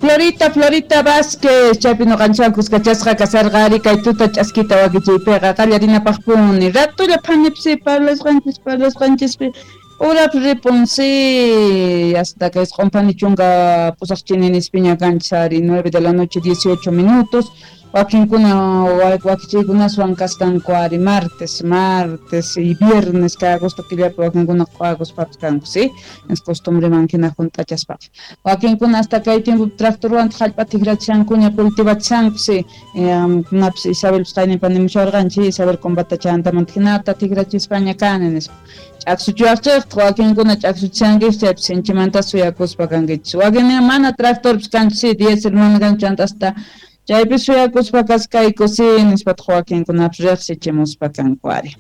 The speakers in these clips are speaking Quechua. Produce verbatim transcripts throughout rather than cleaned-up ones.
Florita, Florita Vázquez, chaypi nuqanchikwan kuskachasqa kasarqa ari kay tuta ch'askita wakichiypiqa qallarinapaqpuni ratulla phanipsi parlasqanchis parlasqanchispi urap ripunsi hasta que isqun phani chunka pusaq chini nispiña kanchis ari nueve de la noche dieciocho minutos. Wakinkuna wakichiykunaswan kaskanku ari martes, martes y viernes kay agosto killapi wakinkuna agostopapas kanku, sí, es costumbreman hina hunt'achaspaqa. Wakinkuna hasta kay tiempo tractorwan hallp'a tikrachishankuña cultivachishanku, sí, kunapis Isabel qayninpa nimusharqanchik Isabel combatachantamanta hinata tikrachispaña kani nispa. Ch'aksuchiwaqchikta wakinkuna ch'aksuchishankichik chaypi sinchimanta suyakuspa kankichis. Wakinqa mana tractorpis kanchu, sí, diésel mana kanchu chanta hasta chaypi suyakuspa kaskayku, sí, nispataq wakinkunapis riqsichimuspa kanku ari.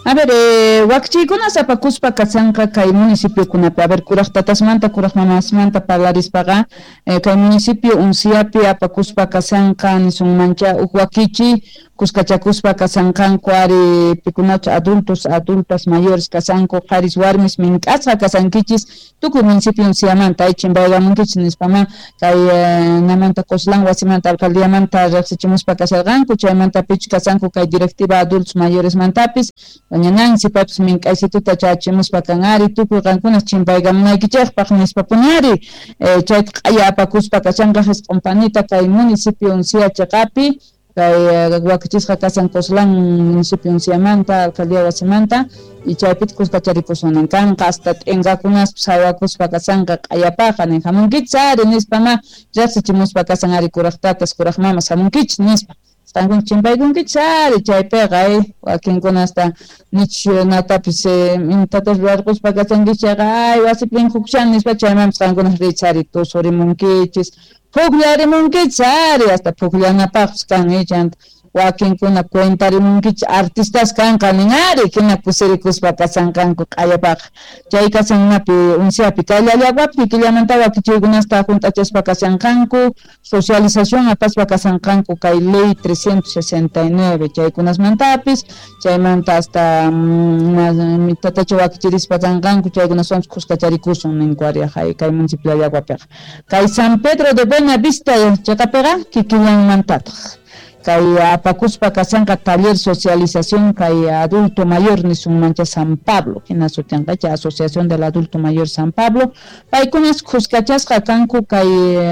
A ver, eh, wakichiykunas apakuspa kasanqa kay municipiokunapi. A ver, kuraq tatasmanta, kuraq mamasmanta parlarispaqa, eh, kay municipio Unciapi apakuspa kasanqa nisunmancha huk wakichi kuskachakuspa kasanqanku ari pikunachu adultos, adultas mayores kasanku, qharis warmis mink'asqa kasankichis tukuy municipio Unciamanta ay chimpaykamunkichis nispama kay eh, namanta Coslán wasimanta alcaldiamanta riqsichimuspa kasarqanku, chaymanta pichu kasanku kay directiva adultos mayores mantapis doña Nancy papis mink'aysituta chachimuspa kan ari tukuy qankunas chimpaykamunaykichikpaq nispapuni ari eh, chayta q'aya apakuspa kashanqa jisq'un panita kay municipio Uncia chiqapi kay wakichisqa kasan Coslán municipio Unciamanta alcaldía wasimanta y chaypita kuskacharikusunan kanqa hasta t'inkakunaspas hawakuspa kasanqa q'ayapaqa nin hamunkichis ari nispama riqsichimuspa kasan ari kuraq tatas kuraq mamas hamunkichis nispa. Qankuna chimpaykunkichis ari chaypiqa eh, wakinkuna hasta nich natapis imatatas ruwarquspa kasankichis chayqa ay wasipin hukshan nispa chaymanpas qankuna riychis ari tusurimunkichis pukllarimunkichis ari hasta pukllanapaqpis kan eh, chanta wakinkuna cuentarimunkichis artistas kanqa nin ari hina kusirikuspa kasanqanku q'ayapaqa chay kasannapi Unciapi kay Llallagwapi killamanta wakichiykunasta hunt'achaspa kasanqanku socialización apaspa kasanqanku kay ley trescientos sesenta y nueve chaykunasmantapis chaymanta hasta mm, tatacha wakichirispa kanqanku chaykunaswanpis kuskacharikusun ninku ari kay municipio Llallagwapiqa kay San Pedro de Buenavista chiqapiqa kikillanmantataq kay apakuspa kasanqa taller socialización kay adulto mayor nisunmancha San Pablo hina sutinqa chay asociación del adulto mayor San Pablo paykunas kuskachasqa kanku kay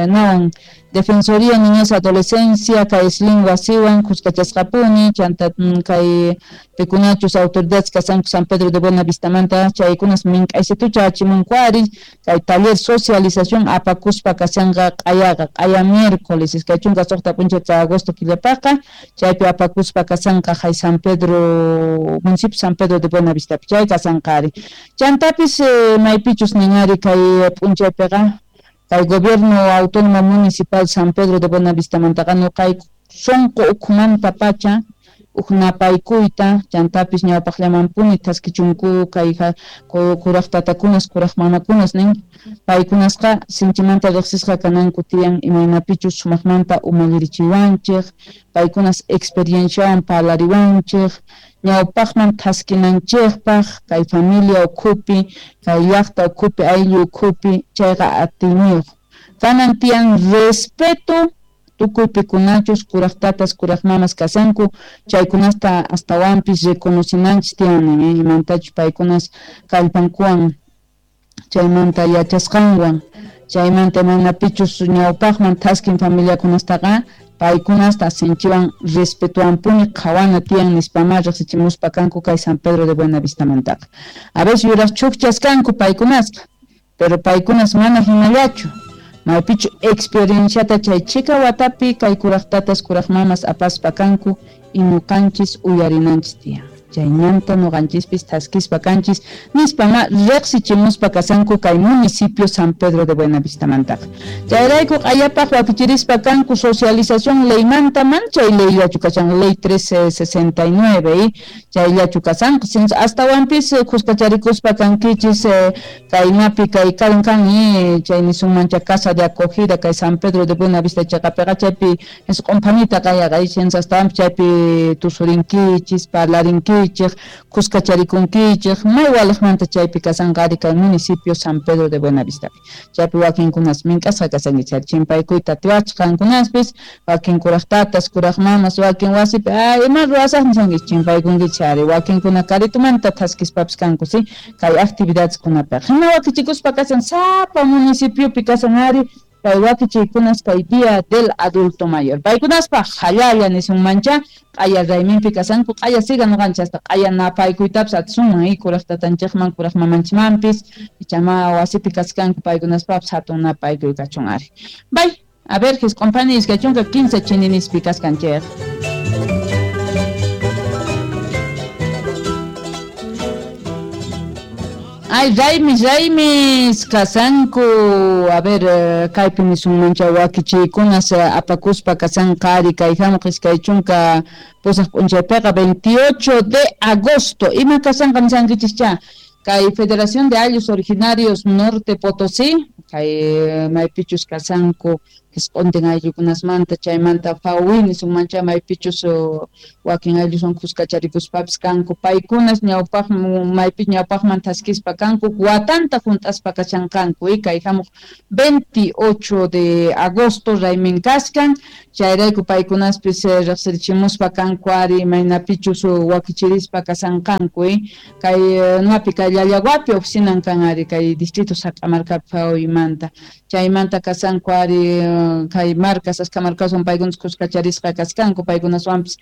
nawan Defensoría Niñez Adolescencia kay Sling wasiwan kuskachasqapuni chanta kay pikunachus autoridades kasanku San Pedro de Buenavistamanta chaykunas mink'aysitucha achimunku ari kay taller socialización apakuspa kasanqa q'ayaqa q'aya miércoles iskay chunka suqta p'unchay de agosto killapaqa chaypi apakuspa kasanqa hay San Pedro municipio San Pedro de Buenavistapi chay kasanqa ari chantapis eh, maypichus nin ari kay p'unchaypiqa kay gobierno autónomo municipal San Pedro de Buenavistamantaqa nuqayku sunqu ukhumanta pacha huk napaykuyta chantapis ñawpaqllamanpuni thaskichunku kay kuraq tatakunas kuraq mamakunas nin paykunasqa sinchimanta riqsisqa kananku tiyan imaynapichus sumaqmanta umallirichiwanchik paykunas experienciawan parlariwanchik ñawpaqman thaskinanchikpaq kay familia ukhupi kay llaqta ukhupi ayllu ukhupi chayqa atiyniyuq kanan tiyan respeto tukuy pikunachus kuraq tatas kuraq mamas kasanku chaykunasta astawanpis reconocinanchis tiyan imantachus paykunas kallpankuwan chaymanta yachasqanwan chaymanta imaynapichus ñawpaqman thaskin familiakunastaqa paykunasta sinchiwan respetuwanpuni qhawana tiyan nispama riqsichimuspa kanku kay San Pedro de Buenavistamantaqa a veces yuraq chukchas kanku paykunasqa pero paykunas mana hinallachu maypichu experienciata chay chika watapi kay kuraq tatas kuraq mamas apaspa kanku y ñuqanchis uyarinanchis tiyan chaymanta ñuqanchispis thaskispa kanchis nispama riqsichimuspa kasanku kay municipio San Pedro de Buenavistamantaqa chayrayku q'ayapaq wakichirispa kanku socialización leymanta man chay leyllachu kashan ley trece sesenta y nueve chayllachu kasanqa astawanpis kuskacharikuspa kankichis kaynapi kay kan kan chay nisunmancha casa de acogida kay San Pedro de Buenavista chaqapiqa chaypi isq'un phanita qayaqa astawanpis chaypi tusurinkichis parlarinkichis kankichik, kuskacharikunkichik, may waliqmanta chaypi kasanqa ari kay municipio San Pedro de Buenavistapi. Chaypi wakinkunas mink'asqa kasankichik, chimpaykuyta atiwachik qankunaspis, wakin kuraq tatas, kuraq mamas, wakin wasipi, ay ima ruwasaq nisankichik, chimpaykunkichik ari, wakinkuna karitumanta thaskispapis kanku, si, kay actividadeskunapiqa. Hina wakichikuspa kasan sapa municipiopi kasan ari, kay wakichiykunas kay Día del Adulto Mayor. Paykunaspaq hallalla nisunmancha, q'aya rayminpi kasanku, q'aya siga nuqanchik hasta q'aya napaykuytapas atisunman, y kuraq tatanchikman, kuraq mamanchikmanpis, ichama wasipi kaskanku paykunaspapis hatun napaykuy kachun ari. Bay, a ver, jisq'unpani iskay chunka quince chininispi kaskanchik. Ay, raymis, raymis, kasanku, a ver, kaypi nisunmancha wakichiykunas apakuspa kasanqa ari kay hamuq iskay chunka pusaq p'unchaypiqa veintiocho de agosto. Ima kasanqa nisankichikcha? Kay Federación de Ayllus Originarios Norte Potosí, kay maypichus kasanku jisq'untin ayllukunasmanta, chaymanta Fawi nisunmancha maypichus wakin aylluswan kuskacharikuspapis kanku, paykunas ñawpaq maypi ñawpaqman thaskispa kanku, watanta hunt'aspa kashanqanku, y kay hamuq veintiocho de agosto raymin kaskan, chayrayku paykunaspis riqsirichimuspa kanku ari imaynapichus wakichirispa kasanqanku, y kay napi kay Llallaguapi oficinan kan ari kay distrito Sac'amarkapi Fawimanta, chaymanta kasanku ari kay marcas, aska marcaswan paykunas kuskacharisqa kaskanku, paykunaswanpis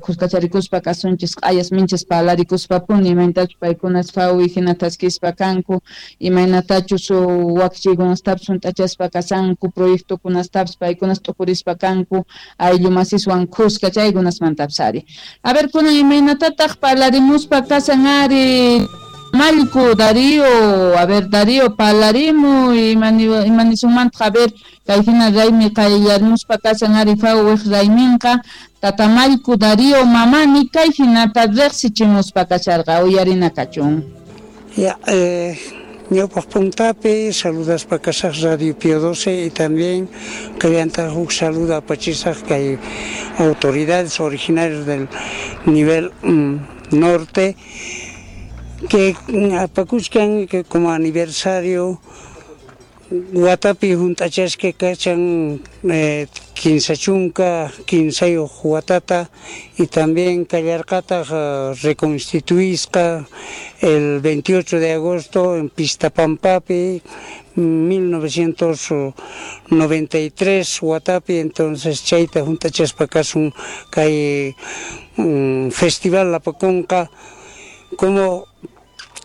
kuskacharikuspa kasunchis, q'ayas minchas parlarikuspapuni, imaynatachus paykunas Fawi hina thaskispa kanku, imaynatachus wakichiykunastapis hunt'achaspa kasanku, proyectokunastapis paykunas t'ukurispa kanku, ayllu masiswan kuska chaykunasmantapis ari. A ver, kunan imaynatataq parlarimuspa kasan ari Mallku, Darío, a ver, Darío, parlarimuy, imanisunmantaq, a ver, kay hina raymi qayllarmuspa kasan ari Fawiq rayminqa, Tata Mallku, Darío, mamani, kay hinata riqsichimuspa kasharqa, uyarina kachun. Ya, eh, ñawpaq puntapi saludaspa kasaq Radio Pío doce y también kallanta huk saluda apachisaq kay autoridades originarias del nivel mm, norte, que apakuchkan que como aniversario watapi hunt'achasqa kachan eh, kinsa chunka kinsayuq watata, y también kallarqataq uh, reconstituisqa el veintiocho de agosto en Pistapampapi mil novecientos noventa y tres watapi, entonces chayta hunt'achaspa kasun kay um, festival apakunqa como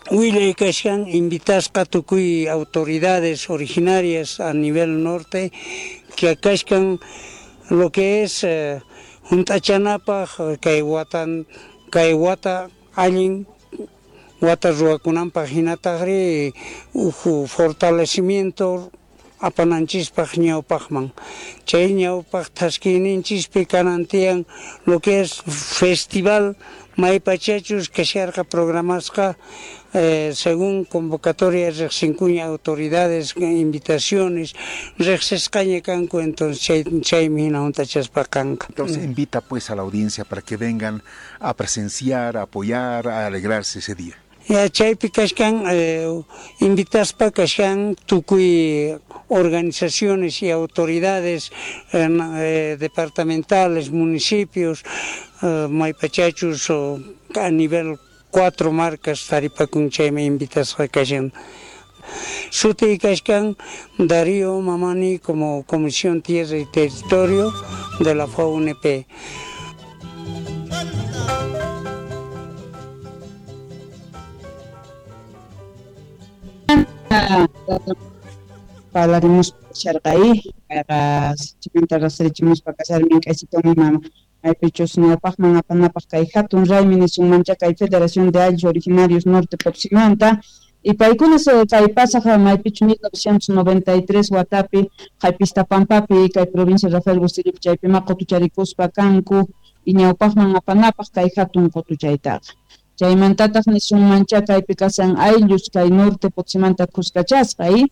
willay kashkan invitasqa tukuy autoridades originarias a nivel norte que kashkan lo que es eh, hunt'achanapaq kay watan kay wata allin wata ruwakunanpaq hinataqri uhu fortalecimiento apananchispaq ñawpaqman, chay ñawpaq thaskiyninchispi kanan tiyan lo que es festival maypachachus kasharqa programasqa eh, según convocatoria riqsinkuña autoridades invitaciones riqsisqaña kanku, entonces chay chaymi hina hunt'achaspa kanqa. Entonces invita pues a la audiencia para que vengan a presenciar, a apoyar, a alegrarse ese día. Ya chaypi kashkan eh, invitaspa kashkan tukuy organizaciones y autoridades eh, eh, departamentales, municipios, eh, maypachachus o a nivel cuatro marcas taripakun chaymi invitasqa kashan. Suti kashkan Darío Mamani como Comisión Tierra y Territorio de la F A U N P. Parlarimuspa kasharqa, payqa chimanta rasarichimuspa kasharmin k'aysitumi mama maypichus ñawpaqman apanapaq kay hatun raymi nisunmancha kay Federación de Ayllus Originarios Norte Potosímanta, y paykunas kay pasaq maypichu mil novecientos noventa y tres watapi kay Pistapampapi kay provincia Rafael Bustillopi chaypima qutucharikuspa kanku y ñawpaqman apanapaq kay hatun qutuchaytaqa. Chaymantataq nisunmancha kaypi kasan ayllus kay norte Potosímanta kuskachasqa, y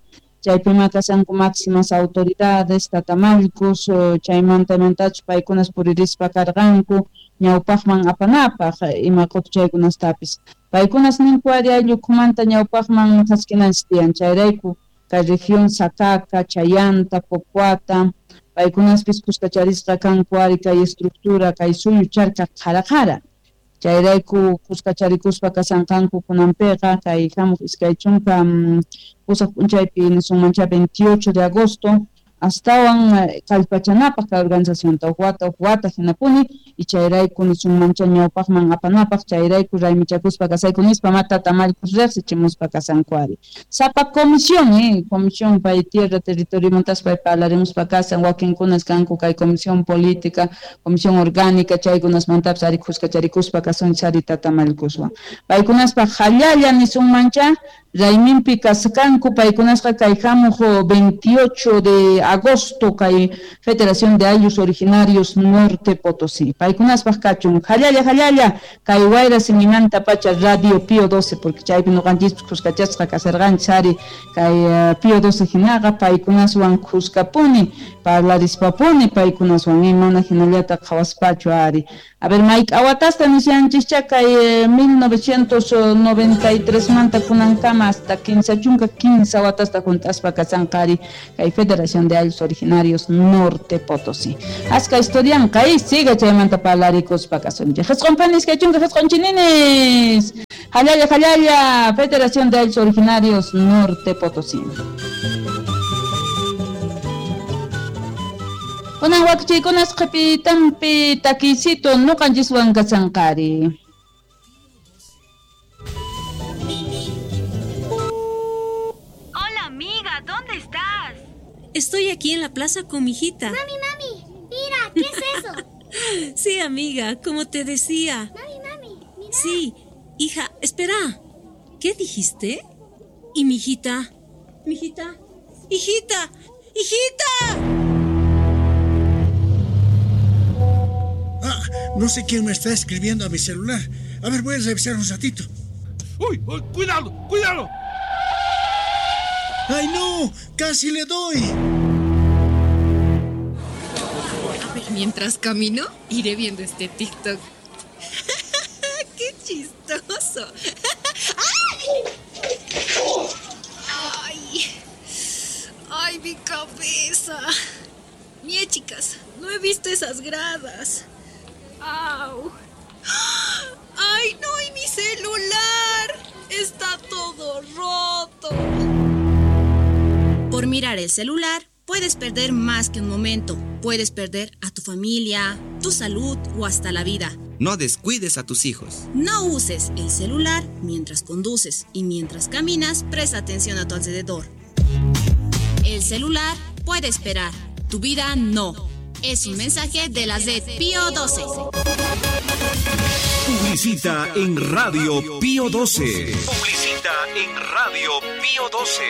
Chaypima kashanku máximas autoridades, tatamallkus, chaymanta mantachus paykunas puririspa karqanku ñawpaqman apanapaq ima qutuchaykunastapis. Paykunas ninku ari ayllukumanta ñawpaqman chaskinanchis tiyan, chayrayku kay región Sacaca, Chayanta, Pocuata, paykunaspis kuskacharisqa kanku ari kay estructura, kay suyu charka qhara qhara. Chayrayku kuskacharikuspa kasanqanku kunanpiqa kay hamuq iskay chunka pusaq p'unchaypi nisunmancha veintiocho de agosto astawan kallpachanapaq kay organizacionta huk wata huk wata hinapuni y chayrayku nisunmancha ñawpaqman apanapaq chayrayku raymichakuspa kasayku nispa matata mallkus riqsichimuspa kasanku ari. Sapa comisión, eh, comisión pay tierra territorio montaspa parlarimuspa kasan wakinkunas kanku kay comisión política, comisión orgánica chaykunasmantapis ari kuskacharikuspa kasunchis ari tata mallkuswan. Paykunaspa hallalla nisunmancha rayminpi kaskanku paykunasqa kay hamuq veintiocho de agosto kay Federación de Ayllus Originarios Norte Potosí. Paykunaspaq kachun hallalla hallalla kay wayra simimanta pacha Radio Pío doce porque chaypi ñuqanchispis kuskachasqa kasarqanchis ari kay uh, Pío doce hinaqa paykunaswan kuskapuni parlarispapuni paykunaswan imana hinallata qhawaspachu ari. A ver, Mike, awatasta nisyanchikcha kay mil novecientos noventa y tres manta kunankama hasta kinsa chunka kinsa watasta juntaspa kasanqa ari kay Federación de Ayllus Originarios Norte Potosí. Aska historianqa kay siga chaymanta parlarikuspa kasunchik. Qisqun panis kay chunka qisqun chininis. Hallalla hallalla Federación de Ayllus Originarios Norte Potosí. Kunan wakchaykunas qhipitanpi takisito ñuqanchiswan kasanqari. Hola amiga, ¿dónde estás? Estoy aquí en la plaza con mi hijita. Mami, mami, mira, ¿qué es eso? Sí, amiga, como te decía. Mami, mami, mira. Sí, hija, espera. ¿Qué dijiste? ¿Y mi hijita? ¿Mi hijita? ¡Hijita! ¡Hijita! Ah, no sé quién me está escribiendo a mi celular. A ver, voy a revisar un ratito. ¡Uy! Uy, ¡cuidado! ¡Cuidado! ¡Ay, no! ¡Casi le doy! A ver, mientras camino, iré viendo este TikTok. ¡Qué chistoso! ¡Ay! ¡Ay, mi cabeza! Mie, chicas, no he visto esas gradas. ¡Au! ¡Ay, no! ¡Y mi celular! ¡Está todo roto! Por mirar el celular, puedes perder más que un momento. Puedes perder a tu familia, tu salud o hasta la vida. No descuides a tus hijos. No uses el celular mientras conduces y mientras caminas, presta atención a tu alrededor. El celular puede esperar, tu vida no. Es un mensaje de la Z Pío doce. Publicita en Radio Pío doce. Publicita en Radio Pío doce.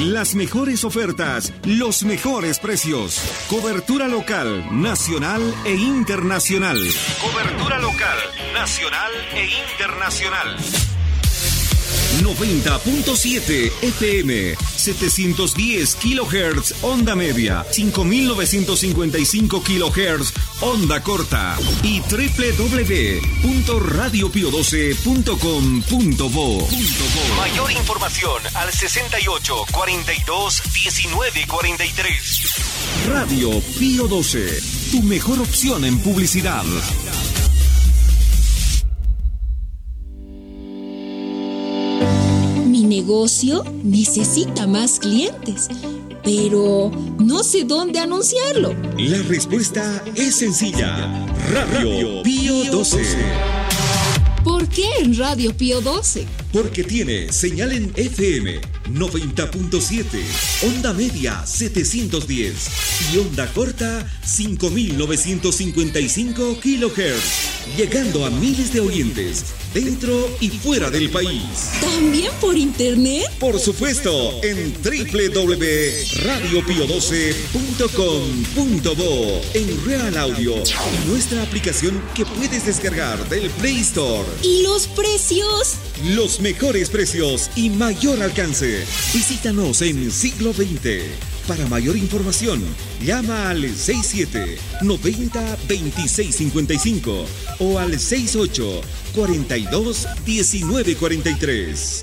Las mejores ofertas, los mejores precios. Cobertura local, nacional e internacional. Cobertura local, nacional e internacional. noventa punto siete F M, setecientos diez kilohertz onda media, cinco mil novecientos cincuenta y cinco kilohertz onda corta y doble u doble u doble u punto radio pío doce punto com punto bo. Mayor información al sesenta y ocho, cuarenta y dos, diecinueve, cuarenta y tres. Radio Pío doce, tu mejor opción en publicidad. Mi negocio necesita más clientes, pero no sé dónde anunciarlo. La respuesta es sencilla. Radio Pío doce. ¿Por qué en Radio Pío doce? Porque tiene señal en F M noventa punto siete, onda media setecientos diez y onda corta cinco mil novecientos cincuenta y cinco kilohertz, llegando a miles de oyentes dentro y fuera del país. ¿También por internet? Por supuesto, en doble u doble u doble u punto radio pio doce punto com punto bo, en Real Audio y nuestra aplicación que puedes descargar del Play Store. ¿Y los precios? Los mejores precios y mayor alcance. Visítanos en Siglo veinte. Para mayor información, llama al seis siete, noventa, veintiséis cincuenta y cinco o al seis ocho, cuarenta y dos, diecinueve cuarenta y tres.